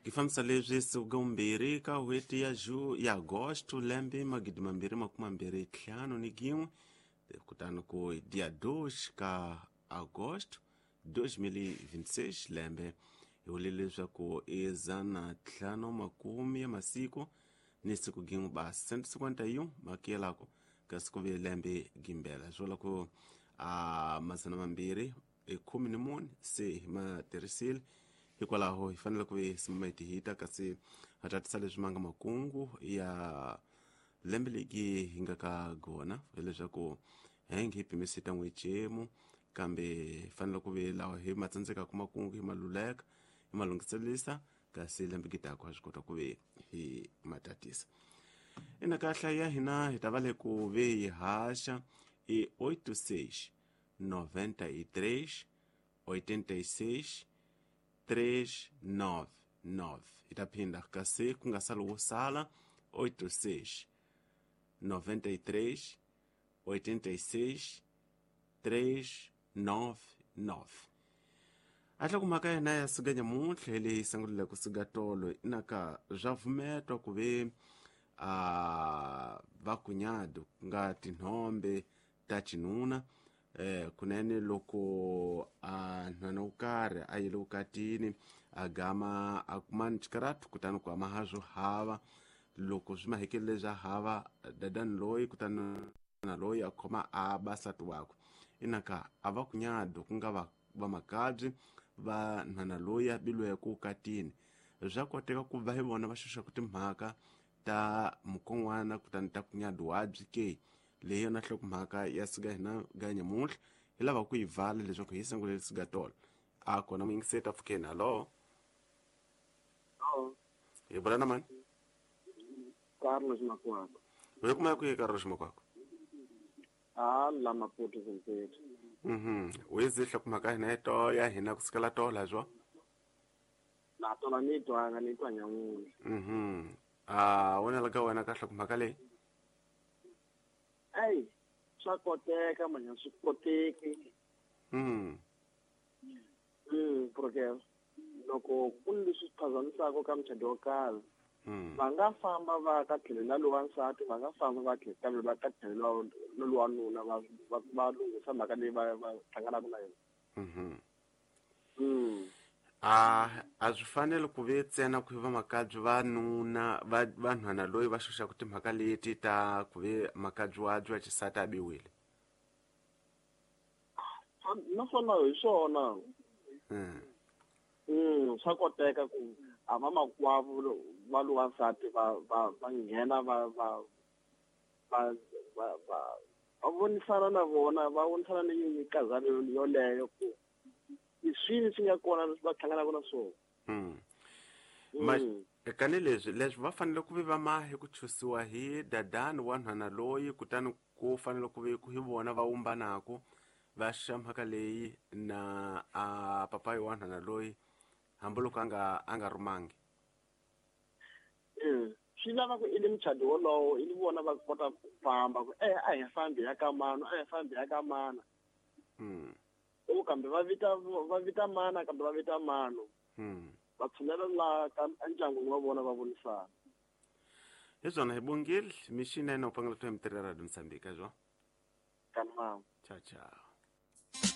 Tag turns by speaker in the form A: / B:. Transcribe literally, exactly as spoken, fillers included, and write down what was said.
A: Kifambisa leswi siku mbirhi ka n'hweti ya ju ya Agosto lembe magidi mambirhi makume mambirhi ntlhanu ni gin'we kutani ku dia dois ka Agosto dois mil e vinte e seis lembe hi vule leswaku i dzana ntlhanu makume ya masiku ni siku gin'we basi cento cinquenta e um makiyelako kasi ku ve lembe gimbela swi vula ku a madzana mambirhi i khume ni mune se hi ma tirhisile hikwalaho hi fanele ku ve simama hi hita kasi ha tatisa leswi ma nga makungu ya lembe legi hi nga ka gona hileswaku henge hi pimise ta n'wexemu kambe hi fanele ku ve lawa hi ma tsandzekaka makungu hi ma luleka hi ma lunghiselisa kasi lembe gitako ha swi kota ku ve hi ma tatisa ina kahla ya hina hi ta va le ku ve hi haxa i oito seis noventa e três oitenta e seis três nove nove hi ta phinda kasi ku nga sali wo sala oito seis noventa e três oitenta e seis três nove nove a mhaka ya hina ya suka nyamuntlha hi leyi sungulile ku suka tolo inaka swa pfumetwa ku ve a vakunyado ku nga tinhombe ta xinuna eh kunene loko a nhwana wo karhi a yile vukatini a gama a kuma xikaratu kutani ku ama ha swo hava loko swi mahekelele swa hava dadani loyi kutani na loyi a khoma a ba nsati wakwe inaka a va kunyado ku nga va vamakabyi va nhwana loyi a bilweke vukatini swa koteka ku va hi vona va xoxaka timhaka ta mukon'wana kutani ta kunyado wabyi ke leyi yona nhlokomhaka ya suka hina ga nyamuntlha hi lava ku yi vala leswaku hi sungulele suka tolo a kona muyingiseri ta pfukeni hallo hi vula na mani
B: Carlos Makwako
A: hi kuma ku yi Carlos Makwako
B: a la Maputo Zimpeto
A: mhm u yi nhlokomhaka hina to ya hina ku sukela tola zwo
B: na tola ni twanga ni twa nyamuntlha
A: mhm a wona la ka wena ka nhlokomhaka leyi
B: ei swa koteka manya swi koteki
A: mm
B: mm porque loko ku ni leswi phazamisaka ka muchado wo karhi va nga famba va ka tlhelo la lowa nsati va nga famba va tlhelo kambe va ka tlhelo la lowa nuna va va va lunghisa mhaka leyi va va hlanganaka na yona
A: mhm
B: mm
A: a a swi fanele ku ve ntsena ku va makabyi va nuna va vanhwana loyi va xoxaka timhaka leti ta ku ve makabyi wa byi wa xisati a biwile
B: naswona hi swona
A: mm
B: mm swa koteka ku a va makwavo va lowa nsati va va va nghena va va va va va va vonisana na vona va vonisana ni mikazana yoleyo ku i swini swi nga kona leswi va hlanganaka na swona
A: mm ma kani leswi leswi va fanele ku ve va mahe ku chusiwa hi dadani wa nhwana loyi kutani ku fanele ku ve ku hi vona va wumbanako va xa mhaka leyi na a papayi wa nhwana loyi hambiloko a nga a nga rhumangi
B: mm swi lava ku i le muchado wolowo i ni vona va kota ku famba ku eh a hi fambi ya ka mano a hi fambi ya ka mana
A: mm
B: o kambe va vita va vita mana kambe va vita mano
A: mm
B: va tshunela la ka endyangwini wa vona va vonisana
A: hi swona hi bongile mixinene u pangela to hi mitirhi ya Radio Mozambique zwo
B: kanama
A: ciao ciao.